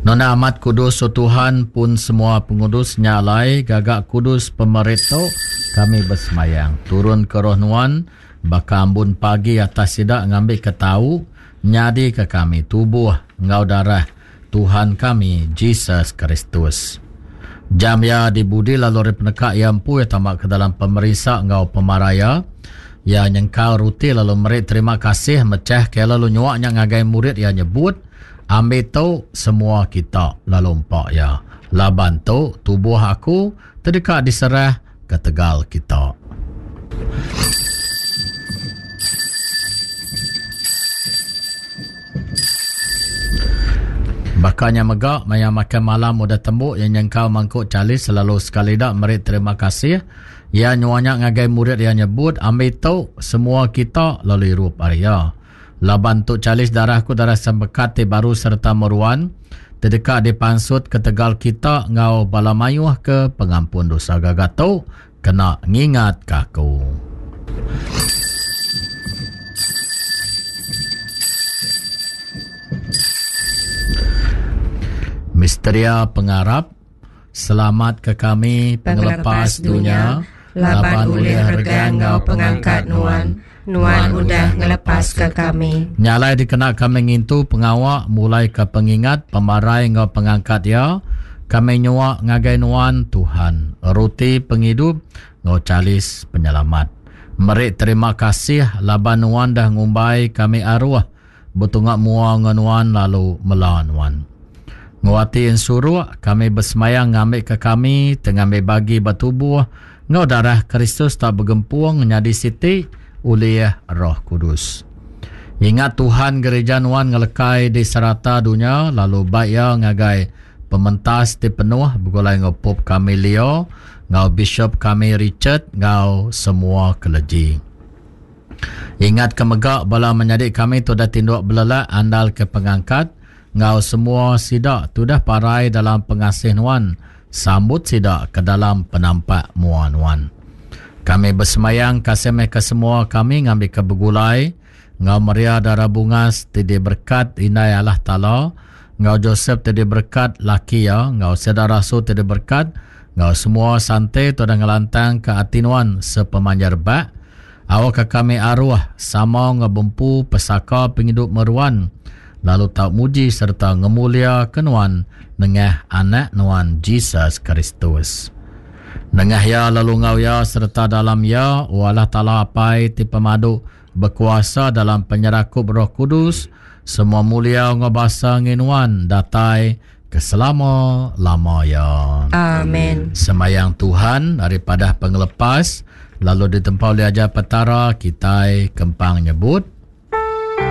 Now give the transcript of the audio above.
Nona amat kudus o Tuhan pun semua pengudus nya alai gaga kudus pemeri tu kami besemayang turun ke roh nuan baka ambun pagi atas sida ngambika tau nyadika kami tubuh enggau darah Tuhan kami Jesus Kristus. Jam iya dibudi lalu ari peneka iya empu iya tama ke dalam pemerinsa enggau pemarai iya. Iya nyengkal ruti lalu meri terima kasih mechah ke iya lalu nyua nya ngagai murid iya nyebut, Ambi tu semua kita lalu empa iya, laban tu tubuh aku ti deka diserah ketegal kita. Baka nya mega, maya makai malam udah tembu, iya nyengkau mangkuk chali selalu sekali da meri terima kasih. Iya nyua nya ngagai murid iya nyebut, Ambi tu, semua kita, lalu irup ari iya. Laban tu chalis darah aku darah sempekat ti baru sereta meruan, ti deka dipansut ketegal kita enggau bala mayuh ke pengampun dosa. Gaga tu kena ngingatka aku. Misteria Pengarap, Selamatka kami, Pengelepas dunya, laban ulih regang enggau pengangkat Nuan, Nuan udah ngelepaska kami. Nya alai dikena kami ngintu pengawa mulaika pengingat pemarai enggau pengangkat Iya, kami nyua ngagai Nuan, Tuhan, ruti pengidup enggau chalis penyelamat. Meri terima kasih laban Nuan dah ngumbai kami aruh betunga mua enggau Nuan lalu mela Nuan. Enggau ati ensuruk, kami besemaya ngambika kami ti ngambi bagi ba tubuh enggau darah Kristus tau begempung nyadi siti ulih Roh Kudus. Ingat Tuhan gerija Nuan ngelekai di serata dunya lalu bai iya ngagai pementas ti penuh begulai enggau Pope kami Leo enggau Bishop kami Richard enggau semua keleji. Ingatka mega bala menyadi kami ti udah tinduk belelak andalka pengangkat, enggau semua sida ti udah parai dalam pengasih Nuan, sambut sida ke dalam penampak mua Nuan. Kami besemayang kasih meh ke semua kami ngambika begulai enggau Maria Dara Bungas ti diberekat Indai Allah Taala, enggau Josep ti diberekat laki iya, enggau sida rasul ti diberekat, enggau semua sante ti udah ngelantangka ati Nuan sepemanjai rebak, Awakka kami aruh sama enggau bempu pesaka pengidup meruan, lalu tau muji sereta ngemuliaka Nuan nengah Anak Nuan, Jesus Kristus. Nengah Iya lalu enggau Iya sereta dalam Iya, O Allah Taala Apai ti pemadu bekuasa dalam penyerakup Roh Kudus, semua mulia enggau basa enggi Nuan datai ke selama-lama iya. Amen. Sembayang Tuhan ari padah pengelepas lalu ditempa ulih ajar Petara kitai kempang nyebut.